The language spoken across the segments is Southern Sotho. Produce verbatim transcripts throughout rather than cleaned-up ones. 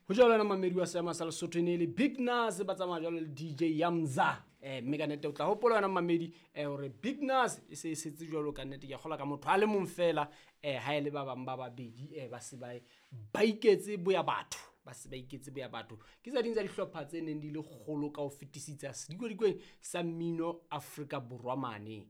Ho jwalo wena mamedi wa seema sa Lesotho, e ne e le Big Nas ba tsamaya jwalo le D J Yamza. um mme ka nnete o tla hopola wena mamedi um hore Big Nas e se e setse jwalo ka nnete, ke a kgola ka motho a le mong fela. um ha e le ba bang ba babedi um ba se ba ba iketse boya batho, ba se ba iketse boya batho. Ke tsa ding tsa dihlopha tse neng di le kgolo ka ho fetisisa sedikodikweng sa mmino Afrika Borwa mane,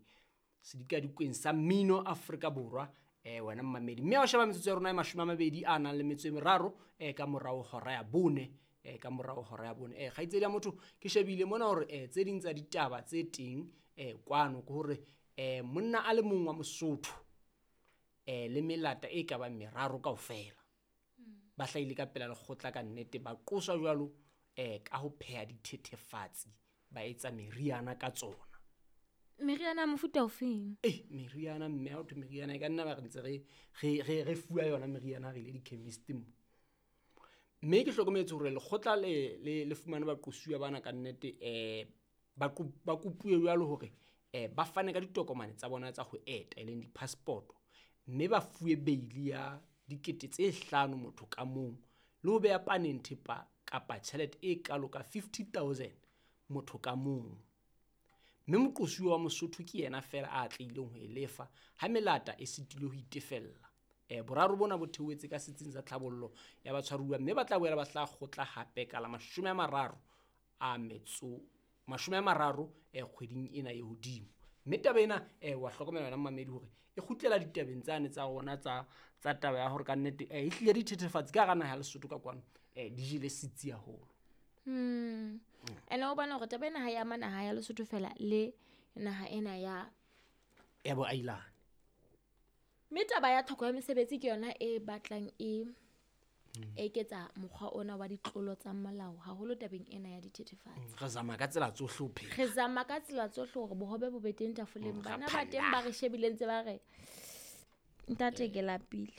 sedikadikweng sa mmino Afrika Borwa. um wena mmamedi, mme ha o sheba metsotso ya rona e mashome a mabedi a nang le metso e meraro um ka morao hora ya bone, um ka morao hora ya bone. um kgaitsedi ya motho, ke shebile mona hore um tse ding tsa ditaba tse teng um kwano ke hore um monna a le mong wa Mosotho um le melata e ka bang meraro kaofela ba hlahile ka pela lekgotla, ka nnete ba qoswa jwalo um ka ho pheha dithethefatsi, ba etsa meriana ka tsona. Meriana ya mofuta ofeng? E meriana, mme ha ho thwe meriana e ka nna ba re ntse re re re re fuwa yona meriana, re ile di-chemist mo. Mme ke hlokometse hore lekgotla le le le fumane baqosuwa bana ka nnete um ba ko- ba kopuwe jwalo hore um ba fane ka ditokomane tsa bona tsa ho eta, e leng di-passport, mme ba fuwe beili ya dikete tse hlano motho ka mong, le ho beha paneng thepa kapa tjhelete e kalo ka fifty thousand motho ka mong. Mme moqosuwa wa Mosotho ke yena fela a atlehileng ho e lefa ha melata e sitilwe ho itefella. um boraro bona bo theohetse ka setsing sa tlhabollo ya batshwaruwa, mme ba tla boela ba hlaha kgotla hape ka la mashome a mararo a metso mashome a mararo um kgweding ena e hodimo. Mme taba ena um wa hlokomela wena mmamedi hore e kgutlela ditabeng tsane tsa rona tsa tsa taba ya hore ka nnete um e hlile dithethefatsi ka hara naha ya Lesotho ka kwano um di jele setsi haholo. Mm. Ene o bona hore taba ena ha e ama naha ya Lesotho fela le naha ena ya ya boailane. Mme taba ya tlhoko ya mesebetsi ke yona e batlang e eketsa mokgwa ona wa ditlolo tsa molao, haholo tabeng ena ya dithethefatsi. Re zama ka tsela tsohle ho phela. Re zama ka tsela tsohle hore bohobe bo be teng tafoleng. Mm, ra Bana ba teng ba re shebileng ntse ba re, "Ntate, ke lapile."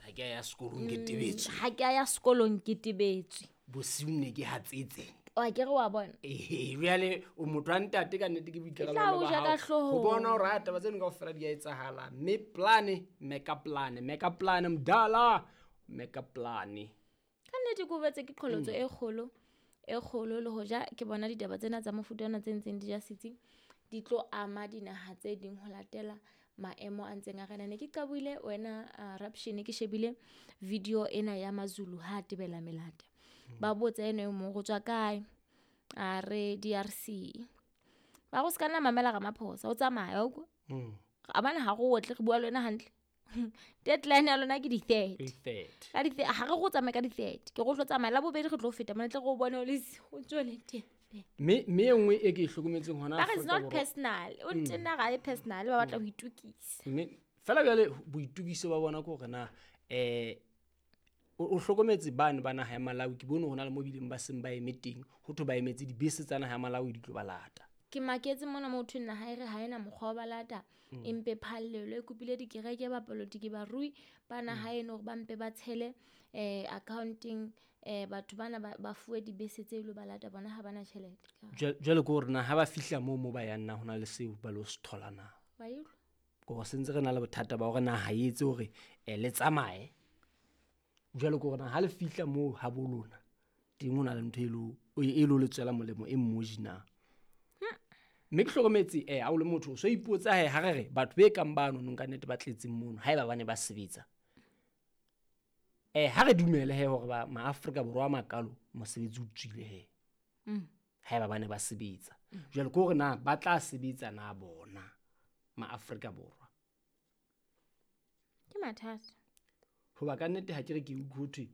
Ha ke a ya sekolong, ke tebetswe. Ha ke a ya sekolong, ke tebetswe. Bosiu ne ke hatsetse. Wa ke re wa bona. Ee, jwale o motho wa ntate, ka nnete ke tla boikarabelo o ba ja ka hao hloohong. Ho bona hore ha taba tseno kaofela di a etsahala, mme plane meka plane meka plane mdala meka plane. Ka nnete ke o betse ke qholotso e kgolo e kgolo, le hoja ke bona ditaba tsena tsa mofuta ona tse ntseng di ja setsi di tlo ama dinaha tse ding ho latela maemo a ntseng a rena. Ne ke qaboile wena uh, Raption, ke shebile video ena ya Mazulu ha a tebela melata, ba botsa eno e mong go tswa kae, a re D R C. Ba go se ka nna mamela Ramaphosa, o tsamaya o kwa a bana ha go otle, re bua le wena hantle, deadline ya lona ke di-thirty. Third. Ka di ha re go tsamaye ka di-thirty, ke go tlo tsamaya la bobedi, re tlo feta mona, tle re o bone o le si- o ntso o le teng. mme mme e nngwe e ke e hlokometseng hona Ba re it's Afrika not Borwa- personal, o ntena ga e personal, ba batla ho itukisa. Mme fela bjale boitukiso ba bona ke hore na um o o hlokometse bane ba naha ya Malawi, ke bone ho na le mo bileng ba seng ba eme teng, ho thwe ba emetse dibese tsa naha ya Malawi di tlo ba lata. Ke maketse mona mo thweng naha e re ha ena mokgwa wa ba lata, empe phallelo e kopile dikereke, bapolotiki, barui ba naha eno hore ba mpe ba tshele um accounting um batho bana ba ba fuwe dibese tse ilo ba lata, bona ha bana tjhelete. Jwale jwale ke hore na ha ba fihla moo mo ba yang, na ho na le seo ba lo se thola na? Wa e utlwa? Ke hore sentse re na le bothata ba hore naha e etse hore um le tsamaye, jwale ke hore na ha le fihla moo ha bo lona teng, ho na le ntho e lo e lo le tswela molemo e mmoji na? Mme ke hlokometse um ha o le motho o so ipotsa he, ha re re batho be kang bano nong ka nnete ba tletseng mono, ha eba ba ne ba sebetsa, um ha re dumele he hore ba maAfrika Borwa a makalo mosebetsi o tswile he, ha eba ba ne ba sebetsa, jwale ke hore na ba tla sebetsa na bona maAfrika Borwa? Ke mathata. Hoba ka nnete ha ke re ke utlwe ho thwe